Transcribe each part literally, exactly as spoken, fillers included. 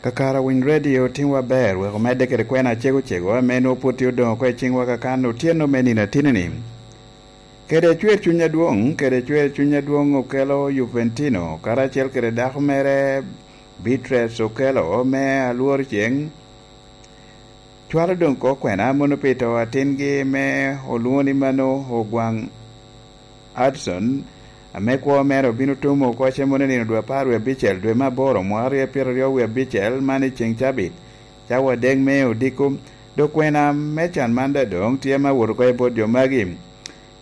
Kakare Winy Radio timwa ber wek omedde kede kwena acego cego ame nwoŋo pwod tye odoŋo oko i ciŋwa kakan otyeno me nino atini-ni. Kede cwer cuny adwoŋ, kede cwer cuny adwoŋ okelo Juventino karacel kede dako mere Beatrice okelo me alwor ceŋ. Cwalo doŋ ko kwena mono pi to atingi me olwoŋo ni mano Ogwaŋ Hudson, ame kwo mere obino tumo oko cem mono nino dwe apar wie abicel dwe me aboro mwaka aryo pyeraryo wie abicel man i ceŋ cabit, cawa adek me odiko. Dok kwena me can man daŋ doŋ tye me awot oko i bot jo magi.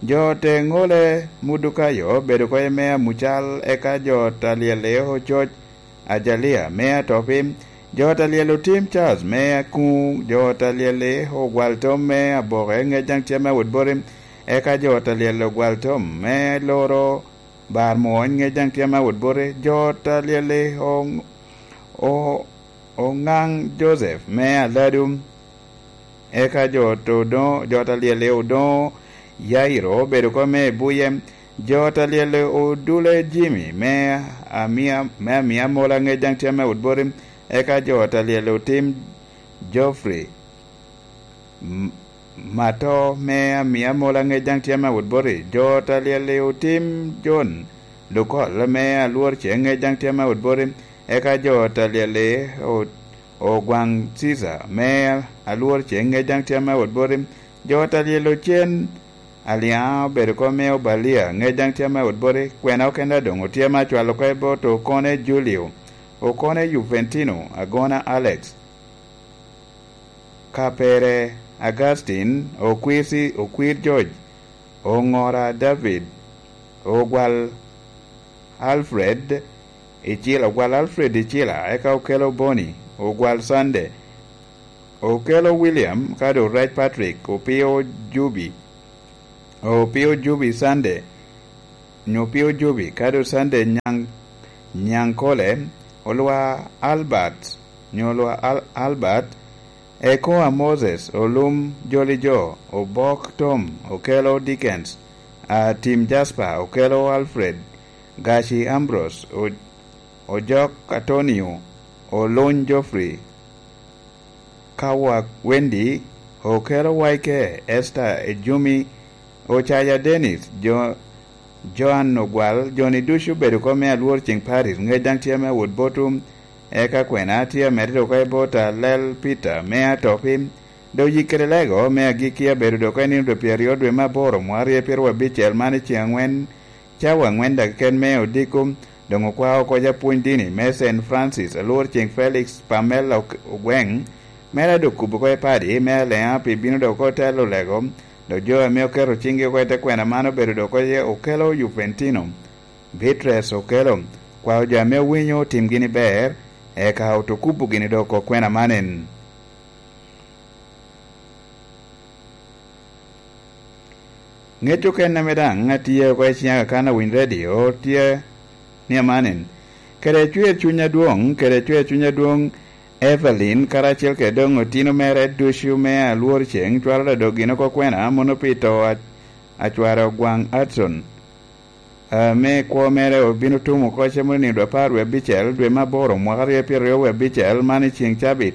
Jo te ŋole Mudukayo obedo oko i me amucal, eka jo ta lyelle ococ Ajalia me atopi, jo ta lyel otim Charles me akuŋ, jo ta lyelle ogwal tom me aboke ŋec daŋ tye me awot boti, eka jo ta lyel ogwal tom me loro bar mwony ŋec daŋ tye me awot boti, jo ta lyelle o-, o-, oŋaŋ Joseph me aladu. Eka jo to doŋo, jo ta lyelle odoŋo Yairo obedo oko me buye. Jo ta lyelle odule Jimmy me amia, me amia mola ŋec daŋ tye me awot boti. Eka jo ta lyelle otim Geoffrey M-, Mato me amia mola ŋec daŋ tye me awot boti. Jo ta lyelle otim John Lukol me alwor ceŋ ŋec daŋ tye me awot boti. Eka jo ta lyelle o-, Ogwaŋ Cica me alwor ceŋ ŋec daŋ tye me awot boti. Jo ta lyel ocen Aliaŋa obedo oko me Obalia ŋec daŋ tye me awot boti. Kwena okene doŋ otye me acwalo oko i bot Okone Julio, Okone Juventino, Agona Alex, Kapere Augustin, Okwir Ci-, Okwir George, Oŋora David, Ogwal Alfred Icila, Ogwal Alfred Icila, eka okelo Boni, Ogwal Sunday, okelo William, ka doŋ Rec Patrick, Opio Jubi, Opio Jubi Sunday, nyo Opio Jubi, ka doŋ Sunday Nyaŋ-, Nyaŋkole, Olwa Albert, nyo Olwa Al-, Albert, Ekoa Moses, Olum Jolijo, Obok Tom, okelo Dickens, Atim Jasper, okelo Alfred, Gaci Ambrose, O-, Ojok Atonio, Oluny Geoffrey, Kawak Wendy, okelo Waike, Esther Ejumi, Ocaya Dennis, Jo-, Joan Ogwal, joni ducu obedo oko me alwor ceŋ Paris, ŋec daŋ tye me awot botwu. Eka kwena tye amedde oko i bot Alel Peter me atopi. Dok yik kede lego me agikki abedo dok i nino dwe pyeraryo dwe me aboro mwaka aryo pyeraryo abicel man i ceŋ aŋwen, cawa aŋwen dakeken me odiko, doŋ okwao oko apwony dini me Saint Francis, alwor ceŋ Felix Pamela Ok-, Ogweŋ, mere a dok kubo oko i padi me Aliaŋa pi bino dok oko telo lego, dok jo ame oketo ciŋgi oko i te kwena man obedo dok oko iye okelo Juventino. Beatrice okelo, kwao jo ame owinyo otim gini ber, eka oto kubo gini dok oko kwena man en. Ŋec okene ame daŋ atye oko i ciŋa kan awiny redio tye ni amanen, kede cwer cuny adwoŋ, kede cwer cuny adwoŋ, Evelyn, karacel kede doŋ otino mere ducu me alwor ceŋ, cwalo dok gin oko kwena, mono pi to a-, acware Ogwaŋ Hudson, ame kwo mere obino tumo oko cem onino dwe apar wie abicel, dwe me aboro, mwaka aryo pyeraryo wie abicel, man i ceŋ cabit,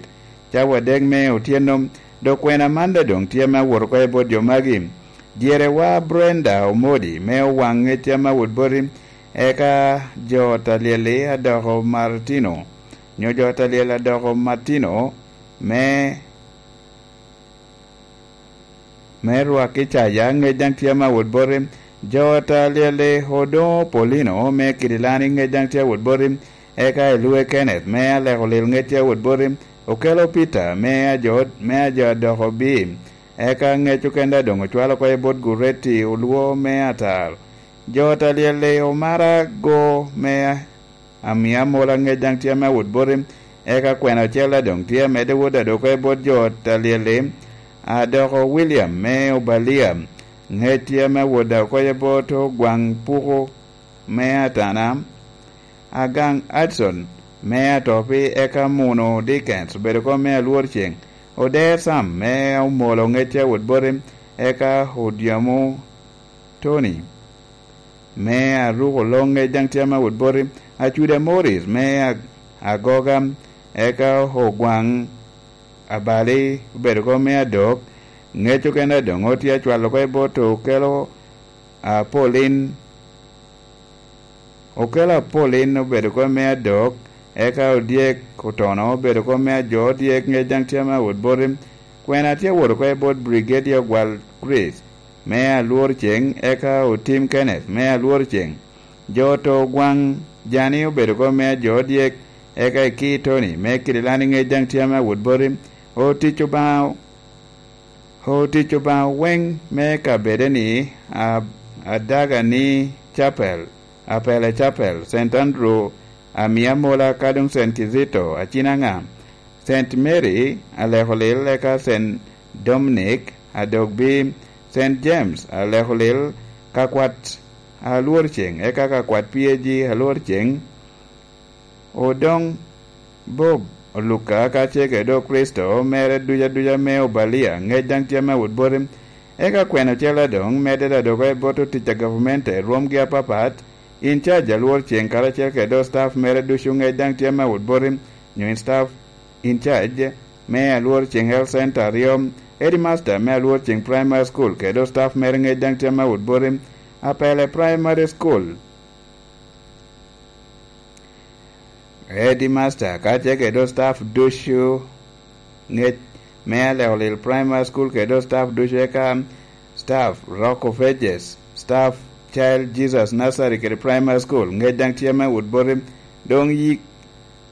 cawa adek me otyeno. Dok kwena man daŋ doŋ tye me awot oko i bot jo magi. Dyerewa Brenda Omodi me Owaŋ ŋec tye me awot boti, eka jo ta lyel-li adoko Martino, nyo jo ta lyel adoko Martino me me rwak i caya, ŋec daŋ tye me awot boti. Jo ta lyel-li odoŋo Paulino me Kidilani, ŋec daŋ tye awot boti. Eka Elue Kenneth me Aleko Lil, ŋec tye awot boti. Okelo Peter me ajo, me ajo adoko bi. Eka ŋec okene daŋ doŋ ocwalo oko i bot Gureti Olwo me Atar. Jo ta lyel-li omara go me Amia Mola, ŋec daŋ tye me awot boti. Eka kwena ocel daŋ doŋ tye amedde wot adoko i bot jo ta lyel-li, adoko William me Obalia, ŋec tye me awot daŋ oko i bot Ogwaŋ Puku me Atana, Agaŋ Hudson me Atopi, eka Muno Dickens obedo oko me alwor ceŋ, Oder Sam me Omolo, ŋec tye awot boti, eka Odyamo Tony me Aruko Loŋ, ŋec daŋ tye me awot boti, Acuda Morris me Ag-, Agoga, eka Ogwaŋ Abali obedo oko me adok. Ŋec okene doŋ otye acwalo oko i bot Okelo Apolin. Okelo Apolin obedo oko me adok, eka Odyek Otono obedo oko me ajo odyek, ŋec daŋ tye ame awot boti. Kwena tye awot oko i bot Brigadier Ogwal Chris me Alwor Ceŋ, eka Otim Kenneth me Alwor Ceŋ. Jo oto Ogwaŋ Jani obedo oko me ajo odyek, eka Eki Tony me Kidilani, ŋec daŋ tye ame awot boti. Otic Obaŋa, otic Obaŋa weŋ me kabedeni, a-, Adaga ni Chapel, Apele Chapel, Saint Andrew, Amia Mola, ka doŋ Saint Kizito, Acinaŋa, Saint Mary, Alekolil, eka Saint Dominic, Adogbi, Saint James, Alekolil, Kakwat Alwor Ceŋ, eka Kakwat P A G Alwor Ceŋ, Odoŋ Bob Oluka, ka ce kede Okricito mere duca duca me Obalia, ŋec daŋ tye ame awot boti. Eka kwena ocele doŋ medde da dok i bot otic a gavumenti i rwomgi apapat, in charge Alwor Ceŋ karacel kede staff mere ducu, ŋec daŋ tye ame awot boti, nyo in staff in charge me Alwor Ceŋ Health Center aryo, headmaster me Alwor Ceŋ Primary School kede staff mere, ŋec daŋ tye ame awot boti, Apele Primary School. Headmaster, ka ce kede staff ducu, ŋec me Alekolil Primary School kede staff ducu, eka staff Rock of Ages, staff Child Jesus Nursery kede Primary School, ŋec daŋ tye ame awot boti. Doŋ yik,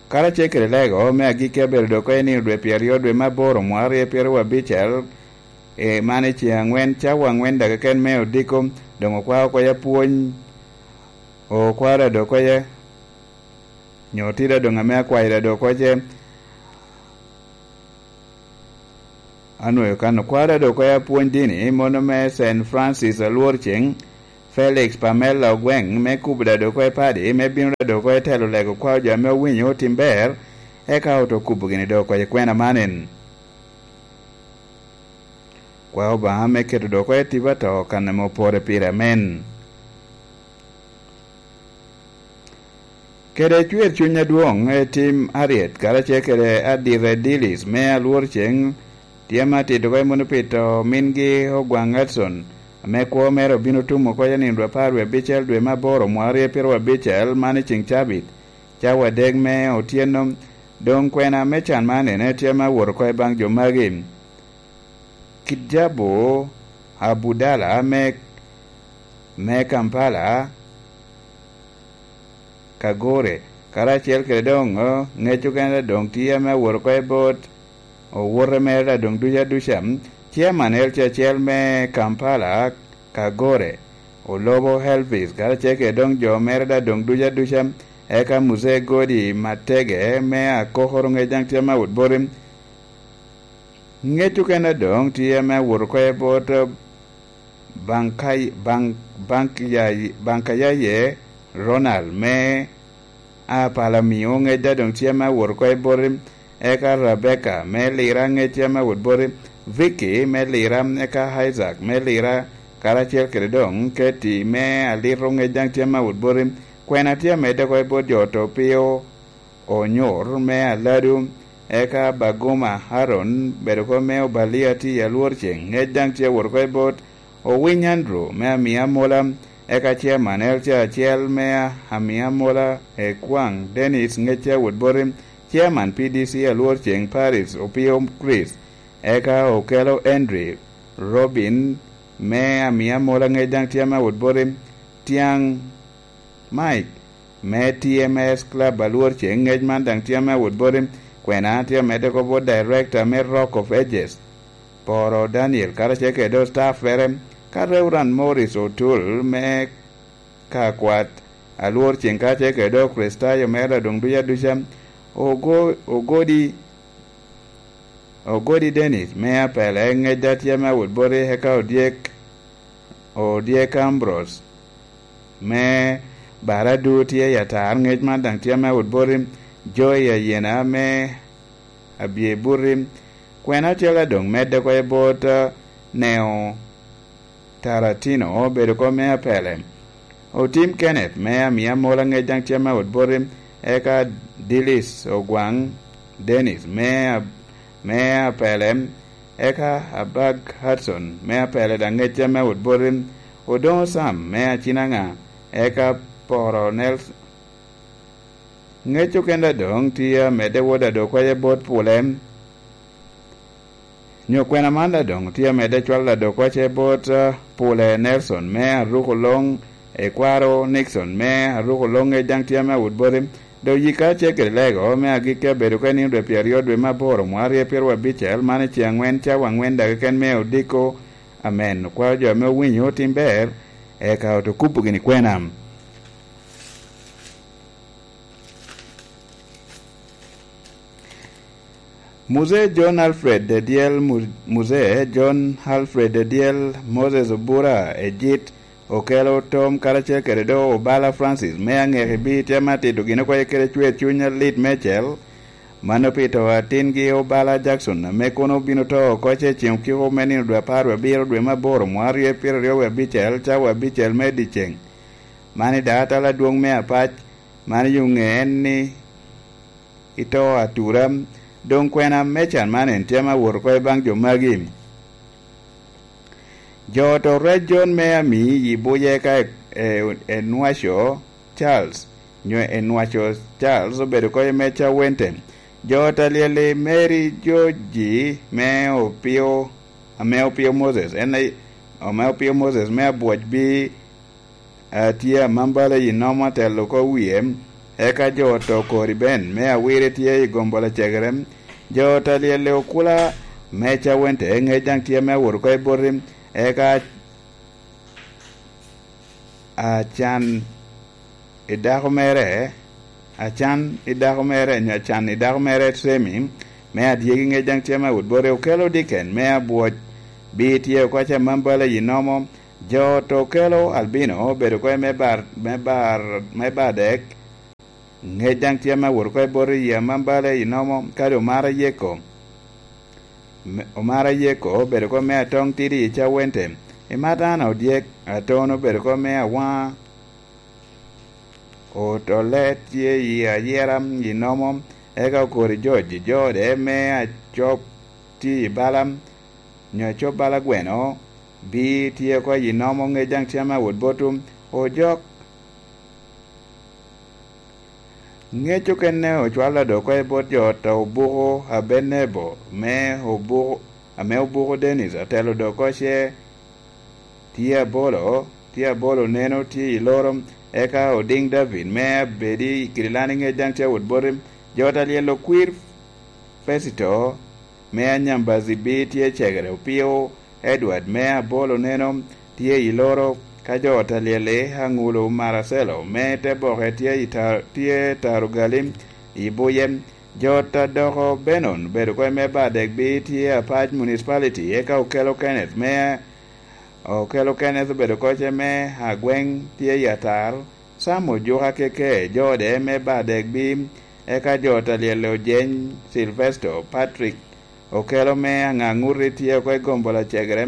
karacel kede lego me agikki abedo dok oko i nino dwe pyeraryo dwe me aboro mwaka aryo pyeraryo abicel, e, man i ceŋ aŋwen, cawa aŋwen daga keken me odiko, doŋ okwao oko ya pwony, okwao da dok oko ya nyo tida doŋ ame akwayo da dok oko ce. Anwoyo kan okwao da dok oko ya pwony dini, mono me Saint Francis Alwor Ceŋ, Felix Pamela Ogweŋ, me kubo da dok oko i padi, me bino da dok oko i telo lego kwao jo ame owinyo otim ber, eka oto kubo gini dok oko i kwena man en. Kwa Obaŋa me keto dok oko i tipo ato kan ame opore pire. Amen. Kede cwer cuny adwoŋ, i tim aryet karacel kede Adire Dillis me Alwor Ceŋ, tye ame atito oko i muno pi to mingi Ogwaŋ Edson, ame kwo mere obino tum oko i nino dwe apar wie abicel dwe me aboro mwaka aryo pyeraryo abicel, man i ceŋ cabit, cawa adek me otyeno. Doŋ kwena me can man ene tye ame awot oko i baŋ jo magi. Kijabu Abudala me, me Kampala, Kagore, karacel kede doŋ, eh, ŋec okene doŋ tye ame awot oko i bot owote mere da doŋ duca duca. Chairman L C acel me Kampala, Kagore, Olobo Elvis, karacel kede doŋ jo mere da doŋ duca duca, eka Muzee Godi Matege me Akokoro, ŋec daŋ tye ame awot boti. Ŋec okene doŋ tye ame awot oko i bot Baŋ-, Baŋ-, Baŋkayaye Ronald me Apalamio, ŋec da doŋ tye ame awot oko i boti, eka Rebecca me Lira, ŋec tye ame awot boti, Vicky me Lira, eka Isaac me Lira, karacel kede doŋ Katie me Alito, ŋec daŋ tye ame awot boti. Kwena tye amedde oko i bot jo oto pio Onyor me Aladu, eka Baguma Aaron, bedo oko me Obalia tye i Alwor Ceŋ, ŋec daŋ tye awot oko i bot Owiny Andrew me Amia Amola, eka Chairman L C acel me Amia Amola, Ekwaŋ Dennis, ŋec tye awot boti, Chairman P D C Alwor Ceŋ Paris Opio Chris, eka Okelo Henry Robin me Amia Amola, ŋec daŋ tye ame awot boti, Tiaŋ Mike me T M S Club Alwor Ceŋ, ŋec man daŋ tye ame awot boti. Kwena tye amedde oko bot Director me Rock of Ages, Poro Daniel, karacel kede staff mere, ka Reverend Morris Otul me Kakwat Alwor Ceŋ, karacel kede Kricitayo mere adoŋ duca duca, Ogo-, Ogodi Ogodi Dennis me Apele, ŋec da tye ame awot boti, eka Odyek, Odyek Ambrose me Baradu tye i Atar, ŋec man daŋ tye ame awot boti, Joy Ayena me Abye Buti. Kwena ocele doŋ medde oko i bot, eh, Neo Taratino, obedo oko me Apele. Otim Kenneth me Amia Amola, ŋec daŋ tye ame awot boti, eka Dilis Ogwaŋ Dennis me, a- me Apele, eka Abag Hudson me Apele, daŋ ŋecca me Awot Boti, Odoŋo Sam me Acinaŋa, eka Poro Nelson. Ŋec okenda doŋ tye amedde wot adokwace bot Pule, nyo kwena man daŋ doŋ tye amedde cwalo adokwace bot, ah, Pule Nelson me Aruko Loŋ, Ekwaro Nixon me Aruko Loŋ, ŋec daŋ tye ame Awot Boti. Dok yika acel kede lego me agikki abedo ka i nino dwe pyeraryo dwe me aboro mwaka aryo pyeraryo abicel, man i ceŋ aŋwen cawa aŋwen daga keken me odiko. Amen. Okwao jo ame owinyo otim ber, eka oto kubo gini kwena. Muzee John Alfred Edyel, Mu-, Muzee John Alfred Edyel Moses Obura Ejit, okelo tom karacel kede do Obala Francis me Aŋeki Bii tye ame atito gin okwaye kede cwer cuny alit meicel. Mano pi to atingi Obala Jackson, ame kono obino to oko ce ceŋ okiko me nino dwe apar wie abiro dwe me aboro mwaka aryo pyeraryo wie abicel, cawa abicel me dyeceŋ. Man i daŋ atala adwoŋ me apac, man i oŋe en ni ito atura. Doŋ kwena me can man en tye ame awot oko i baŋ jo magi. Jo oto rec John me ami i buye ka e, e, Enwaco Charles, nyo Enwaco Charles obedo oko i meca wente. Jo oto alyel i Mary Joji me opio, ame opio Moses, en aye, ame opio Moses me abwoc bi a tye amambala i nomo atelo oko wie, eka jo oto kori ben me awire tye i gombo lacegere. Jo oto alyel i okula me cawente, ŋec daŋ tye me awot oko i boti, eka acan i dako mere, acan i dako mere, nyo acan i dako mere Semi, me adyegi ŋec daŋ tye me awot boti, okelo diken me abwoc, bi tye oko acan mambala i nomo. Jo oto okelo Albino obedo oko me bar, me bar, me bar dek, ŋec daŋ tye ame awot oko i bot i yia mambale i nomo, kadi omara yeko. Me-, omara yeko obedo oko me atoŋ tidi i cawente. I Matana odyek, atono obedo oko me awaŋa. Oto le tye i ayera i nomo, eka okori George, jo ode me acop tye i bala, nyo acop bala gweno, bi tye oko i nomo ŋec daŋ tye ame awot boto, ojok. Ŋec okene ocwalo dok oko i bot jo oto obuko Abenebo, me obuko, ame obuko Dennis, atelo dok oko ce tye abolo, tye abolo neno tye i loro, eka Odiŋ David, me abedi i kidi lan i ŋec daŋ tye awot boti, jo oto alyel okwir Fesito, me anyambazi bi tye cegere opio, Edward me abolo neno tye i loro, ka jo oto alyel i aŋulo Maracelo me te boke tye i ta-, tye Tarugali i buye. Jo oto adoko Benon obedo oko i me Badek bi tye apac municipality, eka okelo Kenneth me, okelo Kenneth obedo oko ce me agweŋ tye i Atar, Sam ojuka keke, jo ode me Badek bi, eka jo oto alyel ojeny Sylvester Patrick, okelo me aŋaŋuti tye oko i gombo lacegere.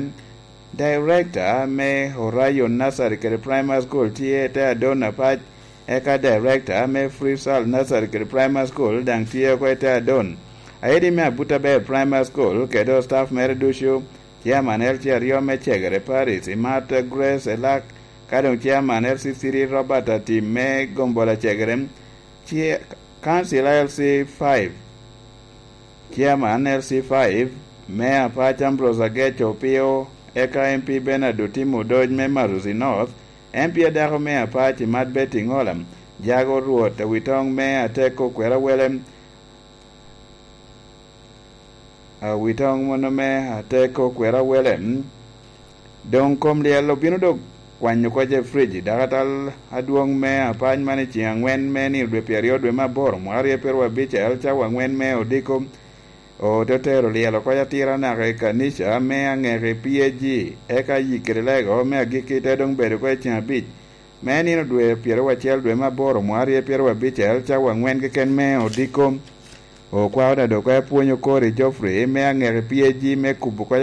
Director me Orion Nursery kede Primary School tye te Adon Apac, eka Director me Freestyle Nursery kede Primary School daŋ tye oko i te Adon. Aidi me Abuta Ber Primary School kede staff mere ducu, Chairman L C aryo me Cegere Parish, Imat Grace Elak, ka doŋ Chairman L C three Robert Atim me gombo lacegere, Chair-, Council L C five, Chairman L C five me Apac Ambrose Agec Opio, eka M P Bernard Otim Odoc me Marusi North, M P adako me Apac Imat Betty Ngola, Jago Rwot Awitoŋ me Ateko Kwerawele, Awitoŋ mono me Ateko Kwerawele, mm, Doŋ kom lyel obino dok kwanyo oko je Friji, dakatal adwoŋ me apac man i ceŋ aŋwen me nino dwe pyeraryo dwe me aboro, mwaka aryo pyeraryo abicel, cawa aŋwen me odiko. Ote tero lyel oko atira naka i kanica me aŋeki P A G, eka yik kede lego me agikki te doŋ bedo oko i ceŋ abic me nino dwe pyeraryo acel dwe me aboro, mwaka aryo pyeraryo abicel, cawa aŋwen keken me odiko. Okwao da dok apwonyo kori Geoffrey me aŋeki P A G me kubo oko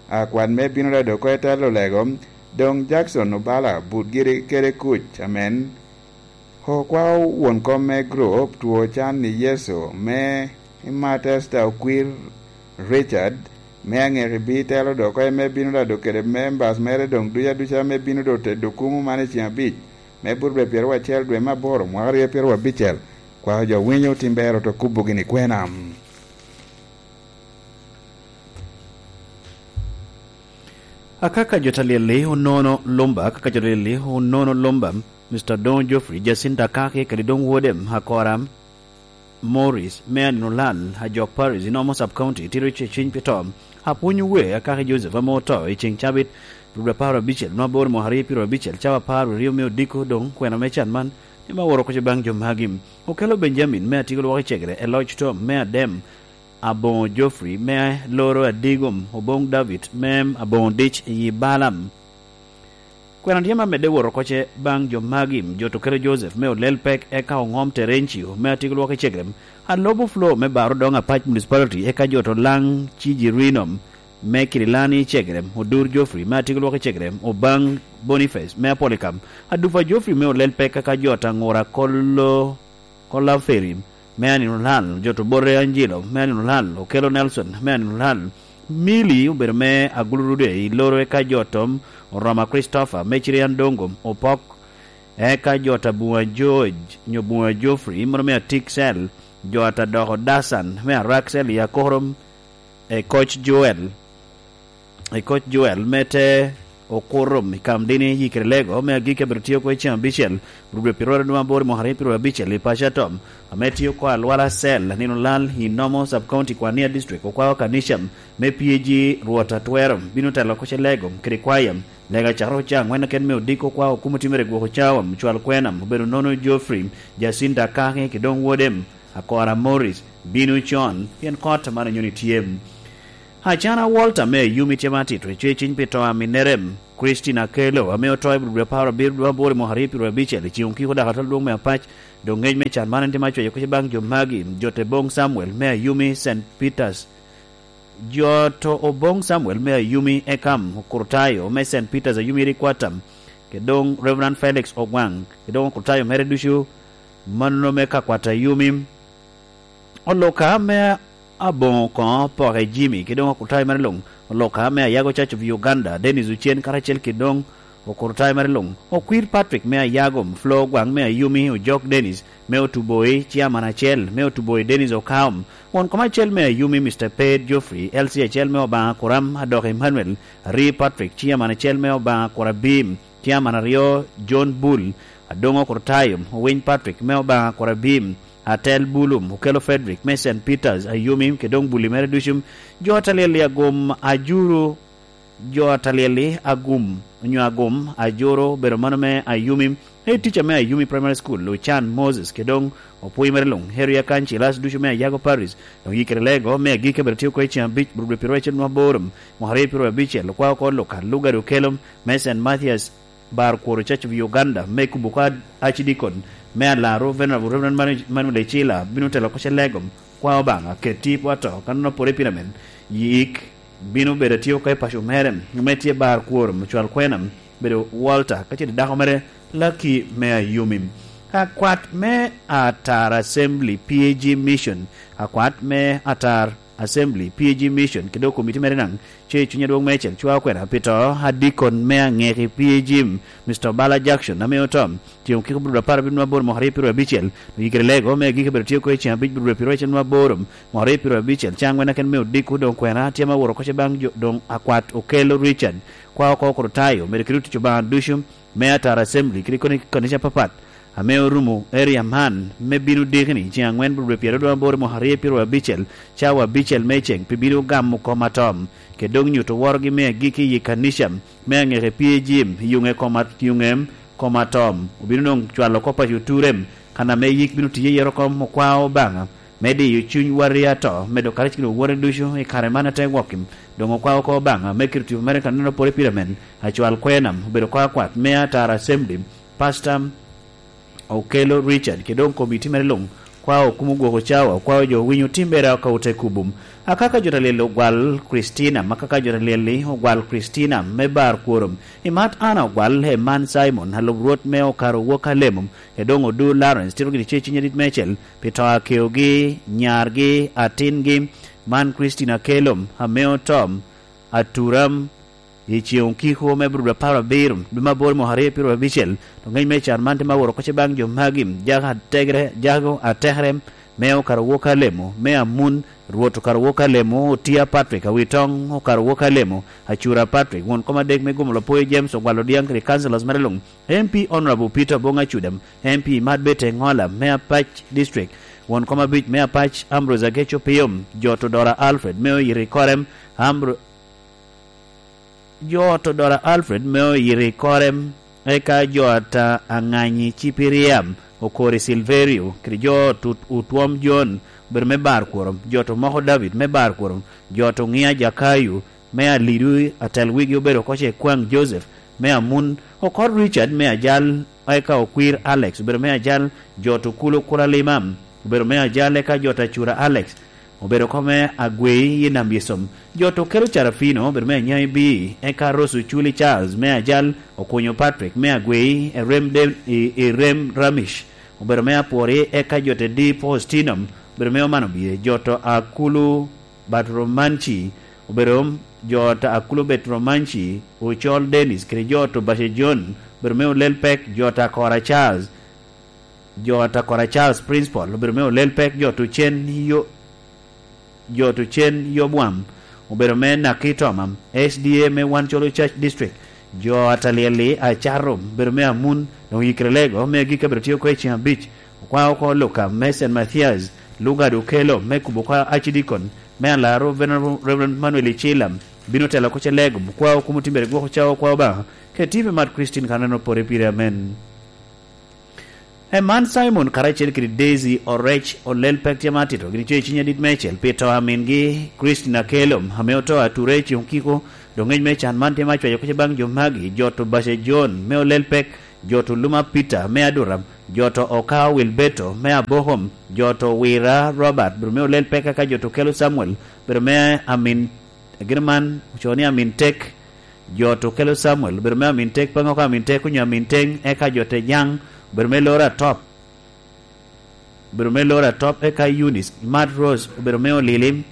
a kwat me bino da dok oko i telo lego, doŋ Jackson Obala but giri kede kuc, amen. Okwao won kom me group two can i Yecu me Matesta Okwir Richard, me aŋeki bino telo dok oko, ame bino rado kede members mere doŋ duc aduca, ame bino doŋ tedo kumo man i ceng abic, me burbe pyeraryo acel dwe me aboro, mwaka aryo pyeraryo abicel. Kwako jo winyo, tim ber oto kubo gini kwena. Akaka jo talyel-li onono lumba, akaka jo talyel-li onono lumba, Mister Don Geoffrey, Jacinta Kaki, kadi doŋ wode Akora Morris, me anino lal, Ajok Parish, Inomo Sub County, tito ce cwiny pi to. Apwony we, Akaki Joseph, ame oto i ceŋ cabit, rubbe apar abicel, nwa bor mwaka aryo pyeraryo abicel, cawa apar aryo me odiko, doŋ kwena me can man, ni ma woro koce baŋ jo magi. Okelo Benjamin, me atiko lwak i cegere, e loc tom, me adem, aboŋo Geoffrey, me loro adigom, oboŋ David, me aboŋo dic i Balaam. Kwena tye ma medde woro koce baŋ jo magi, jo Tokelo Joseph, me olel pek, eka oŋom Terencio, me atiko lwak i cegere, alobo Flo, me baro doŋ Apac Municipality, eka jo to laŋ ci Jirino, me Kirilani i cegere, odur Geoffrey, me atiko lwak i cegere, obaŋ Boniface, me Apolikam, adufa Geoffrey, me olel pek, eka jo to aŋura kolo Kolaferi, me anino lal, jo to bote Angelo, me anino lal, Okelo Nelson, me anino lal, Mili obedo me Agulurude i loro, eka jo tom, Oroma Christopher, me Cirian Dongo, Opok, eka jo ta Bunga George, nyo Bunga Geoffrey, mono me Atik Cell, jo ta doko Dasan, me Arak Cell i Akorom, e Koc Joel, e Koc Joel, me te Okurum i Kamdini, Yikere Lego, me agikki abedo tye oko i ceng abicel, rubbe pi rwot aduma aboro mwaka aryo pi rwot abicel i paco atom, ame tye oko alwala Cell, anino lal i Nomo Sub-County Kwania District, okwao kanica me P A G Rwot Atwero, bino telo oko ce Lego, kede kwaya, Lego acakere oca angwen aken me odiko okwao kumo timere gwoko cawa, cwal kwena, obedo nono Geoffrey, Jacinta Kaki, ki doŋ wode, Akora Morris, bino con, pien kot man onyoni tye. Acana Walter me Ayumi tye ma atito, ecwe ciny pi to a minnere, Christine Akello, ame oto i dwe apar abiro dwe aboro i mwaka aryo pi rwot abicel, i ceng okiko dok atol dwong me apac, doŋ ngec me can man en tye ma cweyo kuc baŋ jo magi, jo te boŋ Samuel me Ayumi, Saint Peters. Jo to oboŋ Samuel me Ayumi, Ekam Okurtayo me Saint Peters Ayumi Rikwata, ke doŋ Reverend Felix Ogwaŋ, ke doŋ Okurtayo mere ducu, mano me ka kwat Ayumi. Oloka me aboŋo koŋo Poke Jimmy, kede doŋ Okurtayo mere luŋ. Oloka me Ayago Church of Uganda, Dennis Ocen, karacel kede doŋ Okurtayo mere luŋ. Okwir Patrick me Ayago, Flo Ogwaŋ me Ayumi, Ojok Dennis me Otuboi, Chairman acel me Otuboi, Dennis Okaom. Won kom acel me Ayumi, Mister Ped Geoffrey, L C acel me Obaŋa Kuram, Adok Emmanuel, Ari Patrick, Chairman acel me Obaŋa Kurabim, Chairman aryo, John Bull, Adoŋo Kurtayo, Owiny Patrick me Obaŋa Kurabim, Atel Bulum, Okelo Frederick me Saint Peters, Ayumi, kede doŋ Bulli mere ducu, jo Ataliel i Agum, Ajuru, jo Ataliel i Agum, onyo Agum, Ajuru, obedo mano me Ayumi, Head teacher me Ayumi Primary School, Ochan Moses, kede doŋ opwony mere luŋ, Harry Akan Cilas ducu me Ayago Parish, doŋ yikere lego me agikki abedo tye oko i ceng abic, rubbe piro acel nwa boro, mwaka aryo piro abicel, okwao oko Luka, Lugard Okelo, me Saint Mathias, Bar Kworo Church of Uganda, me kubo oko Archdeacon, me Alaro, Venerable Reverend Manu-, Manuel Ecila, bino telo oko ce lego, kwa Obaŋa, keti i pwoto, ka nonno pore pire men, yik, bino bedo atye oko i paco mere, me tye Bar Kworo, Mucwal Kwena, bedo Walter, ka ce dako mere, Lucky me Ayumi. Akwat me Atar Assembly P A G Mission, akwat me Atar Assembly P A G Mission, kede komiti mere naŋ, ce i cuny adwoŋ me cel cwa okwena, pi to, adikon me aŋeki P A G, Mister Bala Jackson, ame oto, tyeŋo kiko bro apar abiro nwa boro mwaka aryo piro abicel, oyikere lego, me agikki bedo tye oko i ceng abic bro piro acel nwa boro, mwaka aryo piro abicel, caŋ wen aken me odiko, doŋ kwena, tye ma woro koce baŋ jo, doŋ akwat Okelo Richard, kwa oko Okurtayo, medo kede otic Obaŋa ducu, me Atar Assembly, kede koni kanica apapat, ame orumo area man, me bino dikini, ceŋ aŋwen bro pyeraryo aboro mwaka aryo piro abicel, cawa abicel me ceŋ, pi bino gamo kom atom, kede doŋ nyuto worogi me agikki i kanica, me aŋeke P A G, yuŋe kom at-, yuŋe kom atom, obino doŋ cwalo kop a cuture, kan ame yik bino tiye yero kom okwao Obaŋa, me diyo cuny wari ato, medo karacel kede wore ducu i kare man ate gwokki. Doŋ okwao oko Obaŋa, me kito tipo mere kanino pore pire men, acwal kwena, obedo oko akwat, me Atar Assembly, Pastor Okelo Richard, kede doŋ komiti mere luŋ, Okwao kumo gwoko cawa, okwao jo winyo timbere aka ote kubum. Akaka jo ta lyel ogwal Kristina, ma kaka jo ta lyel-li ogwal Kristina me bar kworo. I mat Ana ogwal, e man Simon, alub Rwot me okaro wok alemo, e doŋ odu Lawrence, tito gini ce ciny adit meicel, pi to a keogi, nyargi, atingi, man Kristina Kelom, ame otom, aturam, I ceŋ okiko me Abril apar abiro, dwe me aboro mwaka aryo pyero abicel, to ŋec me can man tye ma woro kocce baŋ jo magi, jago ategre, jago atekere, me okaro wok alemo, me amun, Rwot okaro wok alemo, Otia Patrick, Awitoŋ okaro wok alemo, Acura Patrick, won kom adek me gumo Lapoyo James, ogwalo Diaŋ kede councillors mere luŋ, M P Honorable Peter Obong Acudam, M P Mad Bete Ŋola, me Apac District, won kom abic me Apac, Ambrose Ageco Piyom, Jot Odora Alfred, me Oyito i Korem, Ambro-, Jo ot Odora Alfred me Oyito i Korem, eka jo ata Aŋanyi Cipiriam, Okori Silverio, kede jo ot Ut-, Otwom John, obedo me bar kworo, jo ot Omoko David me bar kworo, jo ot Oŋia Jakayo, me Alidu atel wigi obedo oko ce Kwaŋ Joseph, me Amun, Okor Richard me Ajal, eka Okwir Alex obedo me Ajal, jo ot Okulo Kula Limam obedo me Ajal, eka jo ot Acura Alex obedo oko me Agwei i Nam Yesom. Jo ot Okelo Carafino obedo me Anyai Bii, eka Rose Oculi Charles me Ajal, Okunyo Patrick me Agwei, Erem De-, i, i Rem Ramish obedo me Apwori, eka jo ot Edi Faustino obedo me Omano Bie, jo ot Akulu Bat Romanci obedo, jo ot Akulu Bet Romanci, Ocol Dennis, kede jo ot Obace John obedo me Olel Pek, jo ot Akora Charles, jo ot Akora Charles Principal obedo me Olel Pek, jo ot Ocen Yo-, jo ot Ocen Yobwam obedo me Naki Toma, S D A me Wan Colo Church District, jo ot Alyel-li Acato obedo me Amun, doŋ Yikrelego me agikki obedo tye oko i ceŋ abic, okwao oko Luka me Saint Matthias, Lugard Okelo me kubo oko Archdeacon, me Alaro Venerable Reverend Manuel Icila, bino telo oko ce Lego, okwao kumo timbere gwoko cawa okwao Obaŋa, kede T V Mat Christine ka neno pore pire, amen. E man Simon karacel kede Daisy Orec Olel Pek tye ma atito gin coc i ciny adit meicel pi to a mingi Christine Akelom, ame oto ature i ceŋ okiko, doŋ ŋec me can man tye ma acwayo kuc baŋ jo magi, jo to Bace John me Olel Pek, jo to Luma Peter me Aduram, jo to Okao Wilberto me Abokom, jo to Wira Robert, bedo me Olel Pek, eka jo to Kelo Samuel, bedo me amin, gin man ocoo ni amin tek, jo to Kelo Samuel, bedo me amin tek, Paŋo ka amin tek onyo amin teŋ, eka jo to Jaŋ, bedo me Lora Top, obedo me Lora Top, eka Eunice Imat Rose obedo me Olili,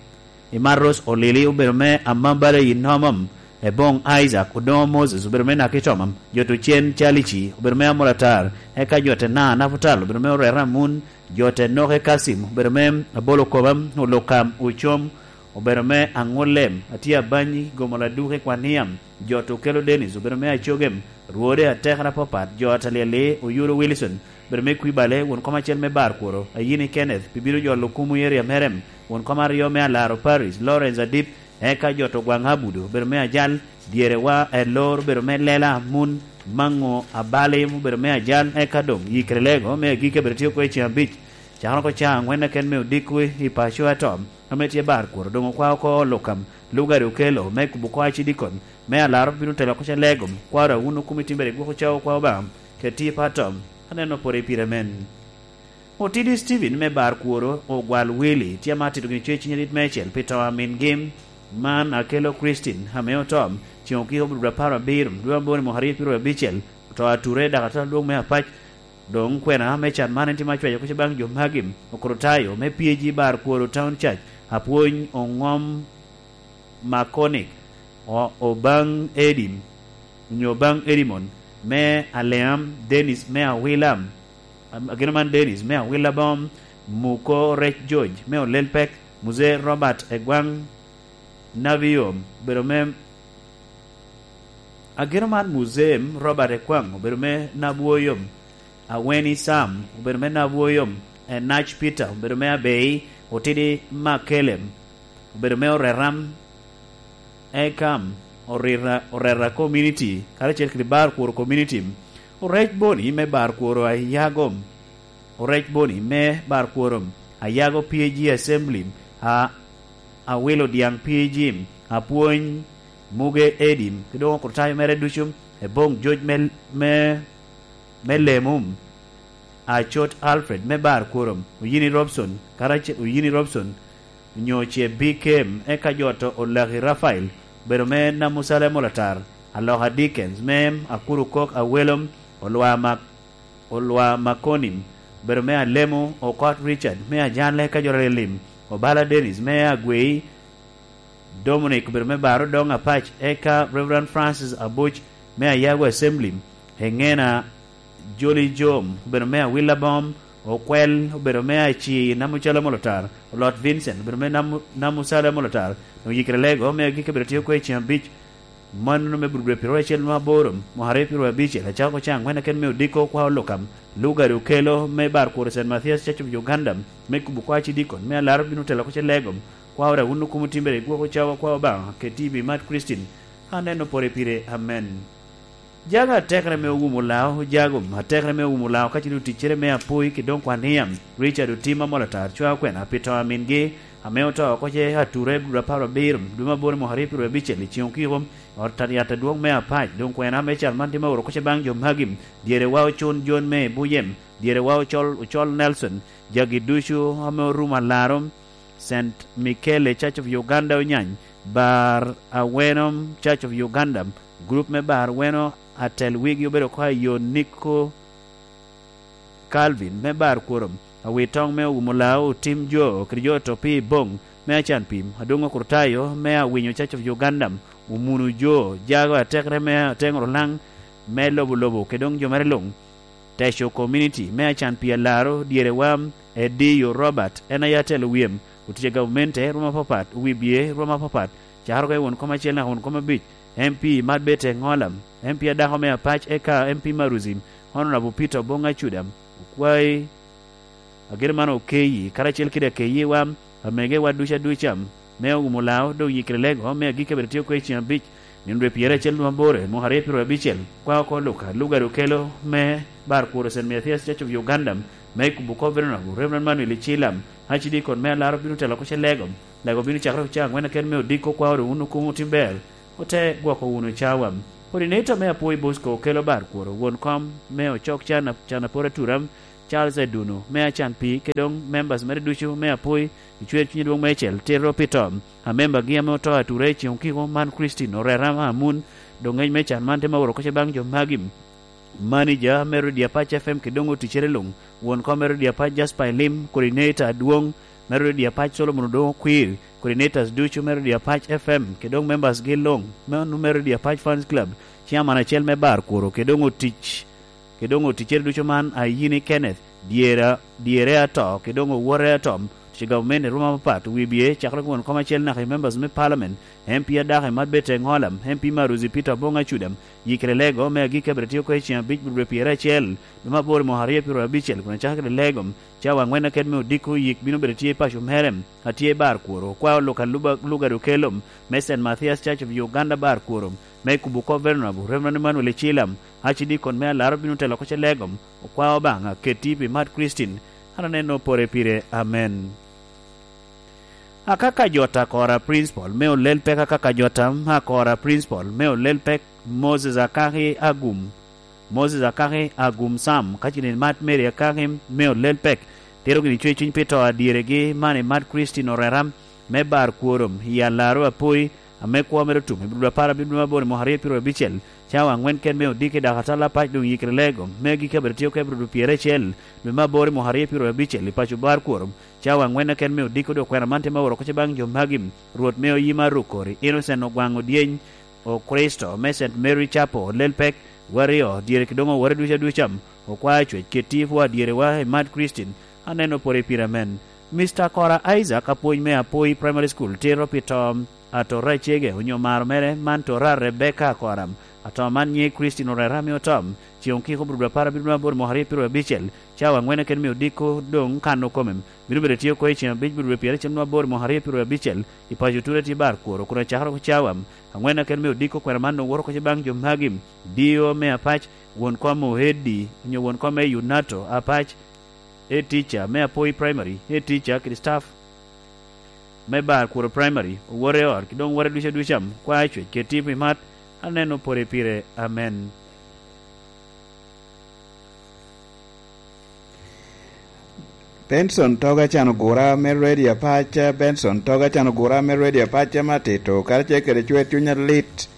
Imat Rose Olili obedo me Amambala i Nomom, Eboŋ Isaac Odoŋo Moses obedo me Naki Tomam, jo to Cen Calici obedo me Amolatar, eka jo te Na Naputal obedo me Orera Amun, jo te Noke Kasim obedo me Abolo Koma, Olukam Ocom obedo me Aŋullem, Atye Abanyi Gomo Laduke Kwaniam, jo to Kelo Dennis obedo me Acogem, Rwode Atekra Popat, jo Atalieli Oyulo Wilson, bedo me Kwibale, won kom acel me Bar Kworo, Ayini Kenneth, pi bino jolo kumo i eria merem, won kom aryo me Alaro Paris, Lawrence Adip, eka jo to Gwaŋ Abudo, bedo me Ajal, dyere wa Elor, bedo me Lela Amun, Maŋo Abalim, bedo me Ajal, eka doŋ Yikrelego, me agike bedo tye oko i ceŋ abic. Cakere oko caŋ aŋwen aken me odiko i paco atom, ame tye Bar Kworo, doŋ okwa oko Olukam, Lugari Okelo, me kubo oko Acidikon, me Alaro bino telo oko ce Legom, kwaro awun okumi timbere gwoko cawo kwa Obaŋa, keti i patom, aneno pore pire men. Otidi Steven me Bar Kworo, Ogwal Willy, tye ma atito gini coc i ciny adit meicel pi to a mingi, man Akelo Christine, ame otom, ceŋ okiko obedo apar abiro, dwe aboro i mwaka aryo pyero abicel, oto ature, dak atwal adwoŋ me Apac, doŋ kwena me can man en tye ma acwayo kuc baŋ jo magi, Okrutayo, me P A G Bar Kworo Town Church, apwony Oŋom Makonik, o-, Obaŋ Edim, onyo Obaŋ Edimon, me Aleam, Dennis me Awilam, am-, ageno man Dennis me Awila Bom, Muko Rec George me Olel Pek, Muzee Robert Egwaŋ Nabiyom, obedo me, ageno man Muzee Robert Egwaŋ obedo me Nabwoyom, Aweni Sam obedo me Nabwoyom, Enac Peter obedo me Abei, Otidi Makelem obedo me Oreram, Ekam, Orira, Orera Community, karacel kede Bar Kwor Community, Orec Boni me Bar Kwor Ayago, Orec Boni me Bar Kwor Ayago P A G Assembly, a, Awilo Diaŋ P A G, Apwony Muge Edim, ki doŋ okrutayo mere ducu, Eboŋ Joc me, me, me Lemum. Acot Alfred me Bar Kworom, Oyini Robson, karac-, Oyini Robson, onyo ce B K M, eka jo to Olaki Rafael, obedo me Namusalem Olatar, Aloka Dickens me Akuru Kok Awelom, Olwa Mak-, Olwa Makonim, obedo me Alemo, Okot Richard me Ajanle, eka jo Lim, Obala Dennis me Agwei, Dominic obedo me Bar Odong Apac, eka Reverend Francis Abuc me Ayago Assembly, Engena Joli Jom obedo me Awila Bom, Okwel obedo me Aci Namucalo Molotar, Olot Vincent obedo me Namu-, Namucalo Molotar, Oyikere Lego me Agikki obedo tye oko i ceng abic, mano me Burubura pyeraryo acel nwa aboro, mwaka aryo pyeraryo abicel, acako ko caŋ angwen aken me odiko kwa Olukam, Lugari Okelo me Bar Kuro Saint Mathias Church of Uganda, me kubo kwa Cidikon, me Alaro bino telo ko ce Legom, kwa ora wun okumo timbere i gwoko cawa kwa Obaŋa, keti i bi mat Kricin, aneno pore pire. Amen. Jago atekere me owumo lao, jago atekere me owumo lao, ka cito ticcere me apoi, ki doŋ kwan niam, Richard Otim Amolatar, cwa okwena, pi to a mingi, ame oto oko ce ature, dwe apar abiro, dwe me aboro, mwaka aryo pyeraryo abicel, i ceŋ okiko, ot yat adwoŋ me Apac, doŋ kwena me cal man tye me oro ko ce baŋ jo magi, dyere wa ocun John me Buyem, dyere wa ocol, ocol Nelson, jagi ducu ame orumo alaro, Saint Michele Church of Uganda Onyany, Bar Aweno Church of Uganda, group me Bar Aweno atel wigi obedo oko a yo Niko Calvin me Bar Kworom, awi toŋ me owumo lao otim jo, kede jo to pi boŋ me acan pim, Adongo Kurtayo me Awinyo Church of Uganda, Omunu Jo, jago atekere me ateŋo Rulaŋ me lobo lobo, kede doŋ jo mere luŋ, Teco Community me acan pi alaro, dyere wa, Ediyo Robert, en aye atelo wiyem, otic a gavamente rwom apapat, owibye rwom apapat, cakere oko i won kom acel naka won kom abic, M P Marbete Ŋolam, M P adako me Apac, eka M P Maruzi, Honorable Peter Oboŋ Acudam, okwayi, ageno man okeyi, karacel kede akeyiwa, amegewa ducu aduca, me owumo lao, doŋ yikere lego, me agikki abed tye oko i ceŋ abic, nino dwe pyeraryo acel nwa aboro, mwaka aryo pyeraryo abicel, kwa oko Luka, Lugari Okelo, me Bar Kuro Saint Mathias Church of Uganda, me kubo kop Venerable Reverend Manuel Icilam, Archdeacon me Alaro bino telo ko ce Lego, Lego bino cakere ocaŋ angwen aken me odiko kwa oro wun okumo tim ber, ote gwoko wunu cawa. Coordinator me Apwoyo Bosco Okelo Bar Kuro, won kom me Ocok Can, Can Apor Atura, Charles Aduno, me Acan Pii, kede doŋ members mere ducu me Apwoyo, i cwer cwiny adwoŋ meicel, tito pi to, a membagi ame oto atura i ceŋ okiko man Christine Orera Amun, doŋ ŋec me can man te ma oro ko ce baŋ jo magi. Manager me Radio Apac F M kede doŋ oticere luŋ, won kom me Radio Apac Jasper Elim, coordinator adwoŋ me Radio Apac Solomon Odoŋo Okwir, coordinators ducu me Radio Apac F M kede doŋ members gi luŋ, me onu me Radio Apac Fans Club, chairman acel me Bar Kuro kede doŋ otic, kede doŋ oticere ducu man Ayini Kenneth, dyera, dyere ato kede doŋ owote atom, otic gavumenti i ruma apapat, wibye, cakere won kom acel naka i members me parliament, M P adako i Marbete Ŋolam, M P Maruzi Peter Oboŋ Acudam, yikere lego me agikki abed tye oko i ceŋ abic, dwe pyeraryo acel, dwe me aboro, mwaka aryo pyeraryo abicel, kun acakere kede lego, cawa angwen aket me odiko yik bino bedo tye i paco mere, atye i Bar Kuro, okwa Luka Luba-, Lugado Kelom, me Saint Mathias Church of Uganda Bar Kuro, me kubo kop Venerable Reverend Emmanuel Ecilam, Archdeacon me Alaro bino telo ko ce lego, okwa Obaŋa, keti pi mat Christine, an aneno pore pire. Amen. Akaka Jota Kora Principal me olel pek, Akaka Jota Akora Principal me olel pek, Moses Akaki Agum, Moses Akaki Agum Sam, ka cini mat Mary Akaki me olel pek, tero gini cwe cwiny pi to adyeregi man i mat Christine Orera me Bar Kworom i Alaro Apoi, ame kwo mere otum i Budo apar abiro dwe me aboro i mwaka aryo pyeraryo abicel, cawa angwen ken me odiki dok atalla pac doŋ yikere lego, me agikki abed tye oko i Budo pyeraryo acel dwe me aboro i mwaka aryo pyeraryo abicel i paco Bar Kworom, cawa angwen ken me odiki dok kwena man te ma oro ko ce baŋ jo magi, Rwot me oyima Rukori, Innocent Ogwaŋ Odyeny, Okristo me Saint Mary Chapel, olel pek, waryo, dyere ki doŋ owore duca duca, okwa cwec keti pwo adyerewa i mat Christine, aneno pore pire amen. Mister Kora Isaac, apwony me Apoi Primary School, tito pi to atora acege onyo maro mere man tora Rebecca Kora, ato man nyiŋe Christine Orera ame otom, ceŋ okiko Budo apar abiro dwe aboro mwaka aryo pyeraryo abicel, cawa angwen aken me odiko doŋ kan okome, bino bedo tye oko i ceŋ abic Budo dwe pyeraryo acel nwa aboro mwaka aryo pyeraryo abicel, i paco Ture tye Bar Kuro, kun acakere oko cawa angwen aken me odiko kwena man owoto oko ce baŋ jo magi, D O me Apac, won kom Ohedi, onyo won kom me Yunato Apac, head teacher me Apoi Primary, head teacher kede staff me Bar Kuro Primary, owote ot, ki doŋ owote duca duca, kwa cwec keti pi mat, aneno pore pire. Amen. Benson Toga can ogura me redio apac, Benson Toga can ogura me redio apac ame atito, karacel kede cwer cuny alit,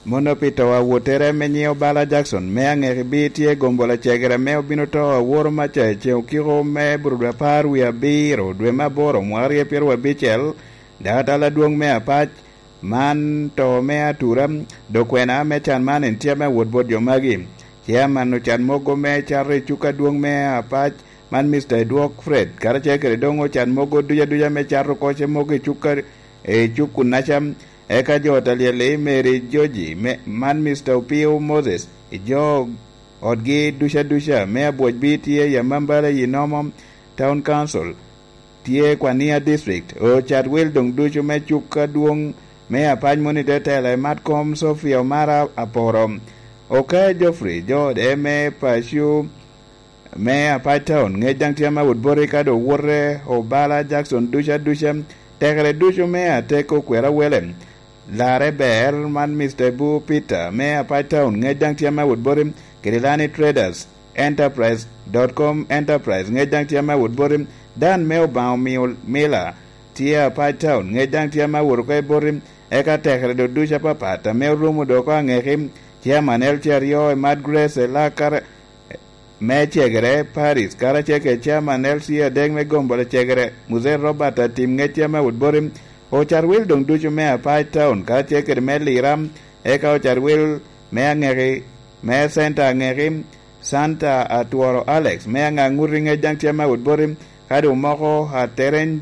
mono pi to awottere ame nyiŋe Obala Jackson, me aŋeki bi tye gombo lacegere ame obino to aworo maca i ceŋ okiko me bur dwe apar wie abiro, dwe me aboro, mwaka aryo pyeraryo abicel, dakatal adwoŋ me apac, man to me atura, dok kwena me can man en tye ame awot bot jo magi. Chairman ocan mogo me cato i cuk adwoŋ me apac, man Mister Edwok Fred, karacel kede doŋ ocan mogo duca duca me cato koce mogo i cuk a-, i cuk kunnaca. Eka jo ot alyel-li, Mary Joji, me, man Mister Opio Moses, i jo otgi duca duca, me abwocbi tye i Amambala i Nomo Town Council, tye Kwania District, ocat wil doŋ ducu me cuk adwoŋ me apac mono i te tela i Matkom Sofia Omara Aporo. Oka Geoffrey, jo ode me paco me apac town, ŋec daŋ tye ame awot boti ka doŋ owote Obala Jackson duca duca, tekere ducu me ateko kwero awele. Larre ber man Mister Bu Peter me apac town, ŋec daŋ tye ame awot boti, kede Lani Traders Enterprise dot com Enterprise, ŋec daŋ tye ame awot boti, Dan me Obaŋa omio Mila tye apac town, ŋec daŋ tye ame awot oko i boti, eka tekere doŋ ducu apapat ame orumo doŋ oko aŋeki, Chairman L C aryo i Mad Grace Elakar, me cegere Paris, karacel kede Chairman L C adek me gombo cegere, Muzee Robert Atim, ŋec tye ame awot boti, ocat wil doŋ ducu me apac town, karacel kede me Lira, eka ocat wil me aŋeki, me Center aŋeki, Santa Atworo Alex, me aŋa ŋuti, ŋec daŋ tye ame awot boti, ka doŋ moko atereny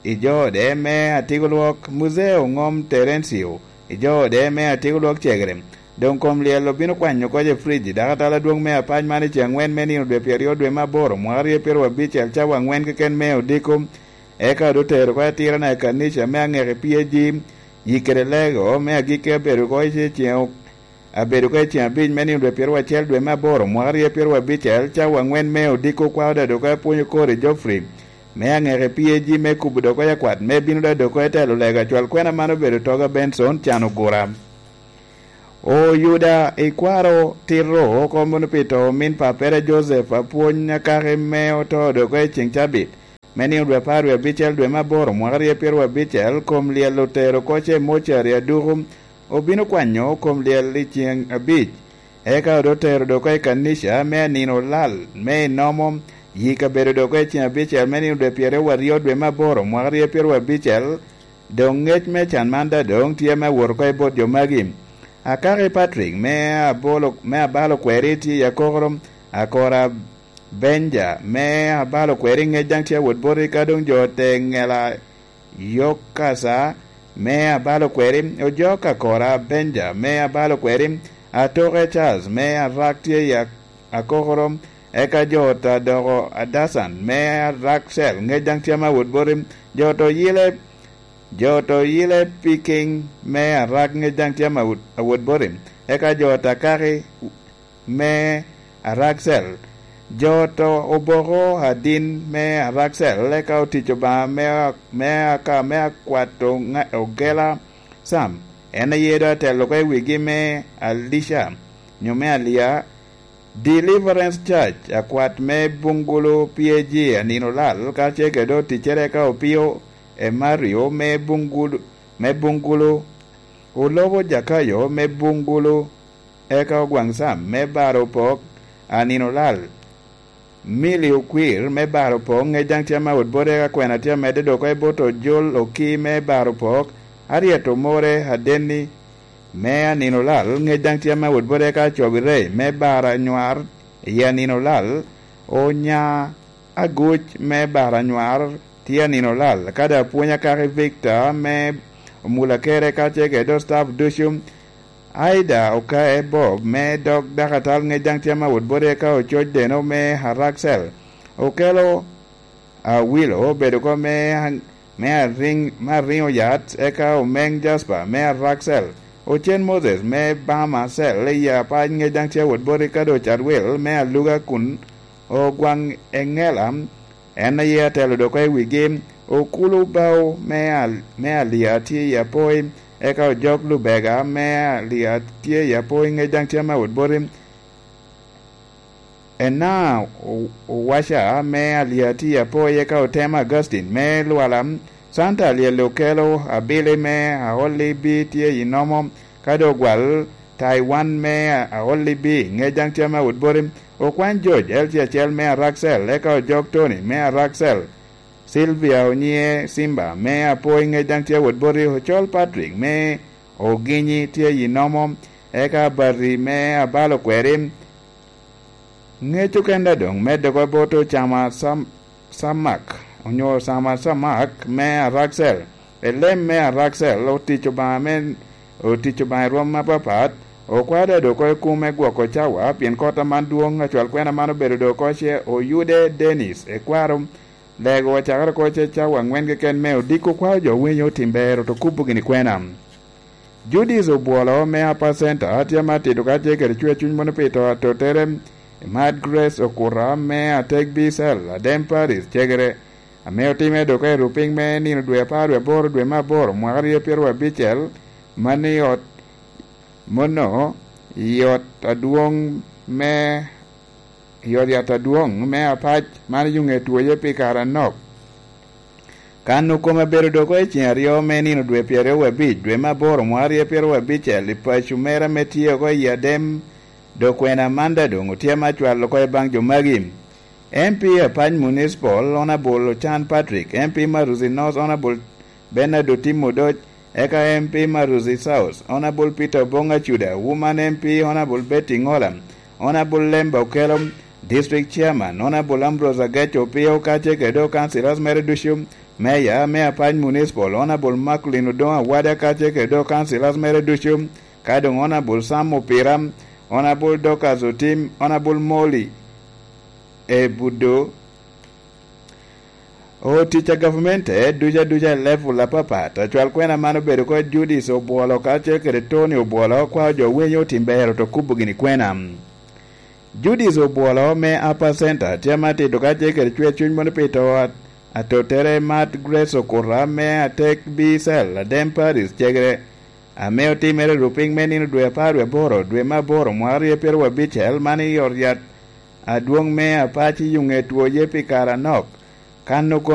i jo ode me atiko lwok, Muzee Oŋom Terencio, i jo ode me atiko lwok cegere. Doŋ kom lyel obino kwanyo oko i frij, dakatal adwoŋ me apac man i ceŋ aŋwen me nino dwe pyeraryo dwe me aboro, mwaka aryo pyeraryo abicel, cawa aŋwen keken me odiko. Eka doŋ otero oko atirana i kanica me aŋeki P A G, yik kede lego me agikki abedo oko i ceŋ, abedo oko i ceŋ abic me nino dwe pyeraryo acel dwe me aboro, mwaka aryo pyeraryo abicel, cawa aŋwen me odiko, kwao daŋ doŋ oko apwonyo kor i Geoffrey me aŋeki P A G me kubo doŋ oko akwat me bino daŋ doŋ oko i telo lego acwal kwena man obedo Toga Benson can ogura. Oyuda ikwaro tito oko mono pi to omin pappere Joseph Apwony Akaki me oto doŋ oko i ceŋ cabit me nino dwe apar wie abicel dwe me aboro mwaka aryo pyeraryo abicel, kom lyel otero oko ce mocari aduku, obino kwanyo kom lyel i ceŋ abic. Eka doŋ otero doŋ oko i kanica me anino olal me inomo, yik abedo doŋ oko i ceŋ abicel me nino dwe pyeraryo aryo dwe me aboro mwaka aryo pyeraryo abicel, doŋ ŋec me can man daŋ doŋ tye me awot oko i bot jo magi. Akaki Patrick me abolo, me abalo kweri tye i akokoro, Akora Benja me abalo kweri ŋec daŋ tye awot boti, ka doŋ jo te ŋela Yokasa me abalo kweri, ojok Akora Benja me abalo kweri, Atoke Charles me arak tye i ak-, akokoro, eka jo ot adoko Adasan me arak cel ŋec daŋ tye me awot boti, jo ot oyile Jo to yile Piking me arak ŋec daŋ tye awot, awot boti, eka jo to Akaki me Araksel. Jo to Oboko Adin me Araksel, eka otic Obaŋa me, me aka, me akwato ŋa-, ogela Sam, en aye doŋ atelo oko i wigi me Alica, nyo me Alia, Deliverance Church, akwat me Bungulu P A G anino lal, karacel kede oticcere ka Opio Emario me Bungulu, me Bungulu, Olobo Jakayo me Bungulu, eka Ogwaŋ Sam me Baro Pok anino lal, Milly Okwir me Baro Pok, ŋec daŋ tye ame awot boti, eka kwena tye amedde dok oko i bot Ojol Oki me Baro Pok, Harriet Omore Adenni, me anino lal, ŋec daŋ tye ame awot boti, eka Acobi Rey me Baro Anywar i anino lal, Onya Aguc me Baro Anywar tye anino lal, ka daŋ apwony Akaki Victor me Omulakere kacel kede staff ducu, Aida Okae Bob me dog dakatal, ŋec daŋ tye ame awot boti, eka Ococ Deno me Araksel, Okelo Awilo obedo oko me, me ariŋ, me ariŋo yat, eka Omeŋ Jasper me Araksel, Ocen Moses me Bama Cell i Apac, ŋec daŋ tye awot boti, ka doŋ Cadwil me Aluga kun Ogwaŋ Eŋela, en aye atelo dok oko i wigi, Okulu Bao me Al-, me Alia tye i Apoi, eka Ojok Lubega me Alia tye i Apoi, ŋec daŋ tye ame awot boti. Ena Owaca me Aliati Apoye ka otemo Augustine me Lwala, Santa Alyel Okelo, Abili me Aolibi tye i Nomo, ka dogwal Taiwan me Aolibi, Ŋejaŋ Cema Woodbury, Okwany George L C acel me Araxel, eka Ojok Tony me Araxel, Sylvia Onyiye Simba me Apoy, Ŋejaŋ Cema Woodbury, Ocol Patrick me Oginyi tye i Nomo, eka Barri me Abalo Kweri, Ŋec okenda doŋ medde oko bot Ocama Sam-, Samak, onyo Ocama Samak me Araxel. Elem me Araxel otic Obaŋa me, otic Obaŋa i rwom apapat, okwao dado oko i kume gwoko cawa, pien kot aman dwoŋ, acwal kwena man obedo doŋ oko ce Oyude Dennis, ekwaro lego ocakere oko ce cawa aŋwen keken me odiko kwao jo winyo tim ber, oto kubo gini kwena. Judith Obwolo me Upper Center tye ma tito ka tye kede cwer cuny mono pi to atottere, Mad Grace Okuta me Atek B Cell, Adem Paris, Cegere, ame otimme dok i rupiny me nino dwe apar wie aboro dwe me aboro mwaka aryo pyeraryo abicel, man i ot mono, i ot adwoŋ me, i ot yat adwoŋ me Apac, man i Yuŋet Woye pi kare anok. Kan okome bedo dok i ceŋ aryo me nino dwe pyeraryo wie abic, dwe me aboro mwaka aryo pyeraryo abicel, i paco mere ame tye oko i Adem, dok kwena Amanda doŋ otye ma cwalo oko i baŋ jo magi. M P Apac Municipal, Honorable Ochan Patrick, M P Maruzi North, Honorable Bernard Otim Odoc, eka M P Maruzi South, Honorable Peter Obong Acuda, Woman M P, Honorable Betty Ngola, Honorable Lemba Okello, District Chairman, Honorable Ambrose Agech Opio, kacel kede dok councillors mere ducu, Mayor me Apac Municipal, Honorable Macklin Odongo Awada, kacel kede dok councillors mere ducu, ka doŋ Honorable Sam Opira, Honorable Dorcas Otim, Honorable Molly Ebudo, otic a gavumenti ducu aduca i level apapat. Acwal kwena man obedo oko Judith Obwolo kacel kede Tony Obwolo, kwao jo winyo otim ber, oto kubo gini kwena. Judith Obwolo me Upper Center tye ma tito ka tye kede cwer cuny mono pi to at-, atottere Mad Grace Okuta me Atek B Cell, Adem Paris, Cegere, ame otimere rupiny me nino dwe apar wie aboro, dwe me aboro, mwaka aryo pyeraryo abicel, man i ot yat adwoŋ me Apac i Yuŋet Woye pi kare anok. Kan okome